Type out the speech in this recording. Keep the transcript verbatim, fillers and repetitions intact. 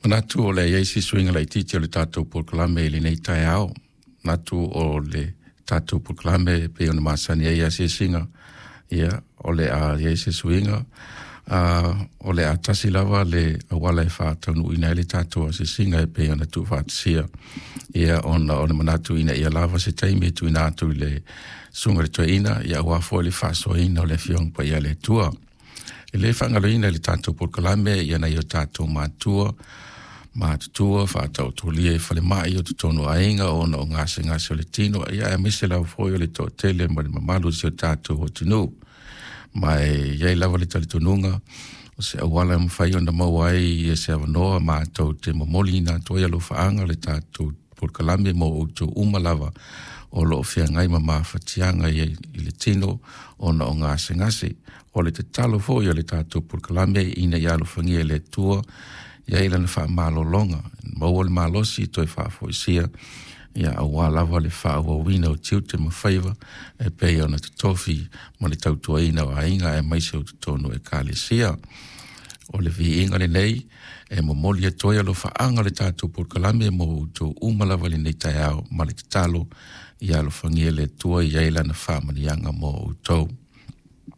Manatu o le a i ai se suiga laitiiti o le tatou polokalame i lenei taeao. Manatu o le tatou polokalame e pei ona masani ai asiasiga, ia o le a i ai se suiga, uh, o le a tasi lava le auala e faataunuuina ai le tatou asiasiga e pei ona tuufaatasia, ia ona o le manatu ina ia lava se taimi e tuuina atu i le susuga i le toeaina, ia aua foi le faasoaina o le Afioga Paia a le Atua. E le faagaloina i le tatou polokalame ia nai o tatou matua matutua faataotolia i falemai o totonu o aiga ona o gasegase o le tino, ia aemaise lava foi o le toatele ma le mamalu o si o tatou atunuu. Ma e i ai lava le talitonuga o se auala e mafai ona maua ai se avanoa matou te momoliina atu ai alofaaga le tatou polokalame mo outou uma lava o lo o feagai ma mafatiaga i le tino ona o gasegase. O le tatalo foi o le tatou polokalame ina ia alofagia e le Atua ia i lana faamalologa, maua le malosi toe faafoisia, ia aua lava le faaauauina o tiute ma faiva e pei ona totofi ma le tautuaina o aiga aemaise o totonu o ekalesia. O le viiga lenei e momoli atu ai alofaaga o le tatou polokalame mo outou uma lava i lenei taeao, ma le tatalo ia alofagia e le Atua ia i lana faamanuiaga mo outou.